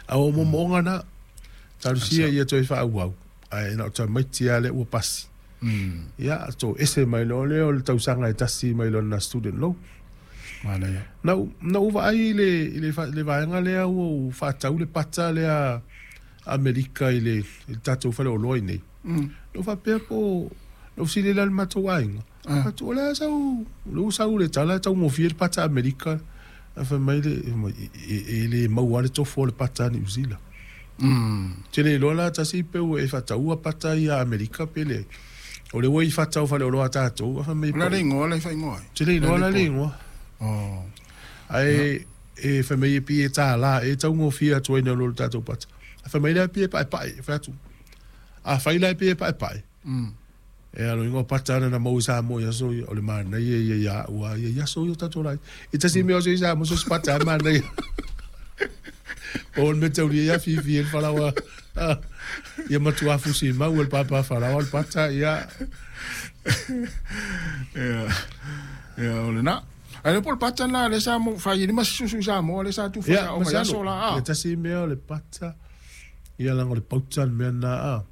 A o moomooga na, talosia ia toe faaauau, ae na o tamaiti lava lea ua pasi. Ia, toese mai loa lea o le tausaga e tasi mai lona student loan. Manaia. Na ou vaai i le, i le, le vaega lea ua ou faatau le pata lea Amerika i le, i le tatou faleoloa i nei. Na ou faapea po, na ou fesili la i le matou aiga. Atu, o le a sau, o lea ua sau le tala e taugofie le pata Amerika. Ae fai mai le, e le maua lava le tofu o le pata a Niu Sila. Ou te le iloa la tasi pe ua e faataua pata ia Amerika pe leai. O lea ua i fata o faleoloa a tatou, ae fai mai O le a le igoa la e faaigoa ai? Ou te le iloa la le igoa. Ae e fai mai e pei e $1 e taugofie atu ai nai lo le tatou pata. Ae fai mai la e pei e paepae. Fai atu, afai la e pei e paepae, e alo igoa pata ana na maua i Samoa i aso ia, o le manaia ia ia au a ia i aso ia o tatou laiti. E tasi mea o se i Samoa, so se pata a manaia. O le mea taulia ia fifi e le falaoa. Ia matua fusi mau e le papa falaoa le pata, ia. Ia, ia, o lena. Ae le po le pata lena lea sa fai ai le masi susu i Samoa lea sa tufa Ia, sa o mai aso la a. Ia tasi mea o le pata, ia laga o le pauta le mea lena a.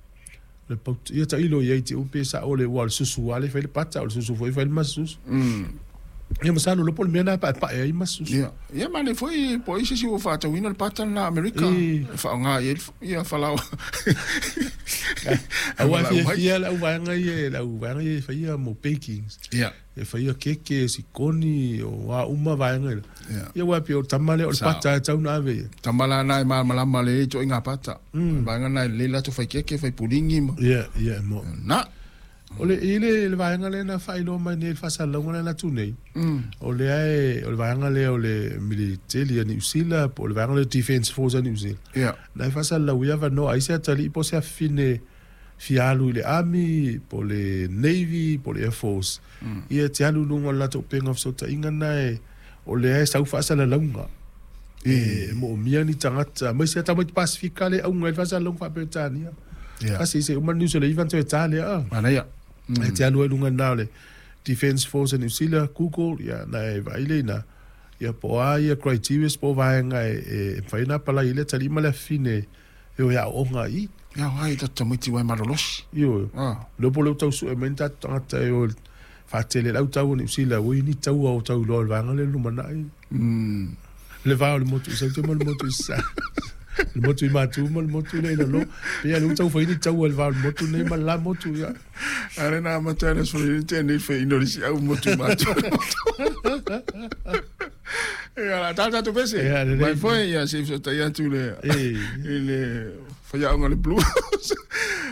Le pauta, ia tailo i ai te upe sa o le ua o le susu lava lea e fai le pata, o le susu foi e fai le masi susu. Ia masalo loa po o le mea lena e paepae ai masi susu. Ia, ia manaia foi po o ai se isi ua faatauina le pata lena a Amerika e faaaoga i ai ia falaoa. Aua e fiafia le auvaega ia, le auvaega ia e faia mo bakings. Ia. E faia keke, sikoni, o a uma vaega ia. Ia aua e pei o le tama lea o le pata e tatau ona ave i ai. Tama la na e malamalama lelei i ituaiga pata. O le vaega lena e lelei latou fai keke, fai puligi ma. Ia, ia e moni. Na. O le, i le, le vaega lea na faailoa mai nei i le faasalalauga lea na atu nei, o lea e, o le vaega lea o le militeli a Niu Sila po o le vaega lea o le Defence Force a Niu Sila. Na e faasalalau ai avanoa ai se atalii po o se afafine fia alu i le Army po o le Navy po o le Air Force, ia e te alu i luga o le latou upega o fesootaiga na e, o lea e sau faasalalauga. E moomia ni tagata, aemaise lava tamaiti Pasifika lea e auga ai le faasalalauga faa-Peretania. Kasi se uma le news o le 9 ona toe ta lea. Manaia. E te alu ai i luga i ina o le Defence Force a New Zealand, Google, ia na e vaai lea i ina, ia po o a ia criterias po o vaega e mafai ona apalai ai le atalii ma le afafine e o e aooga i i. Ia ai tatou tamaiti ua e malolosi. Ioe. Lea po o lea ua tau sue mai ni tatou tagata e o e faatele le au tau o Niu Sila, ua i ai ni taua o tau iloa o le vaega lea i le lumanai. Le va o le motu i Saute ma le motu i Sasae. Le motu i Matu ma le motu lea i lalo. Pei lava o lea ua tau fai ni taua i le va o le motu nei ma le la motu. Ia. A lea na amata ai le aso nei te nei fai ino le si au motu i Matu. Ia la tata tu pese. Ia, lelei. Mai foi ia se fesotai atu le i le faiaoga le Blue House.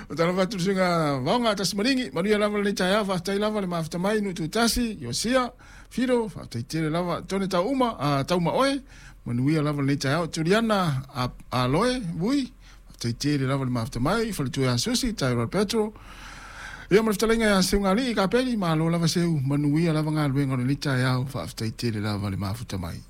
O tala fatu le suiga vaoga tasi maligi. Manuia lava lenei taeao, faafetai lava le mafuta mai Nuutuitasi, Iosia, Fido, faafetai tele lava Tone tau uma, a tau ma oe. Manuia lava lenei taeao. Juliana a Aloe, Vui, faafetai tele lava le mafuta mai, Faletua ia Susi, Tyrell Petro. Ia ma le fetalaiga ia Seugalii Kapeli, malo lava Seu, manuia lava galuega o lenei taeao, faafetai tele lava le mafuta mai.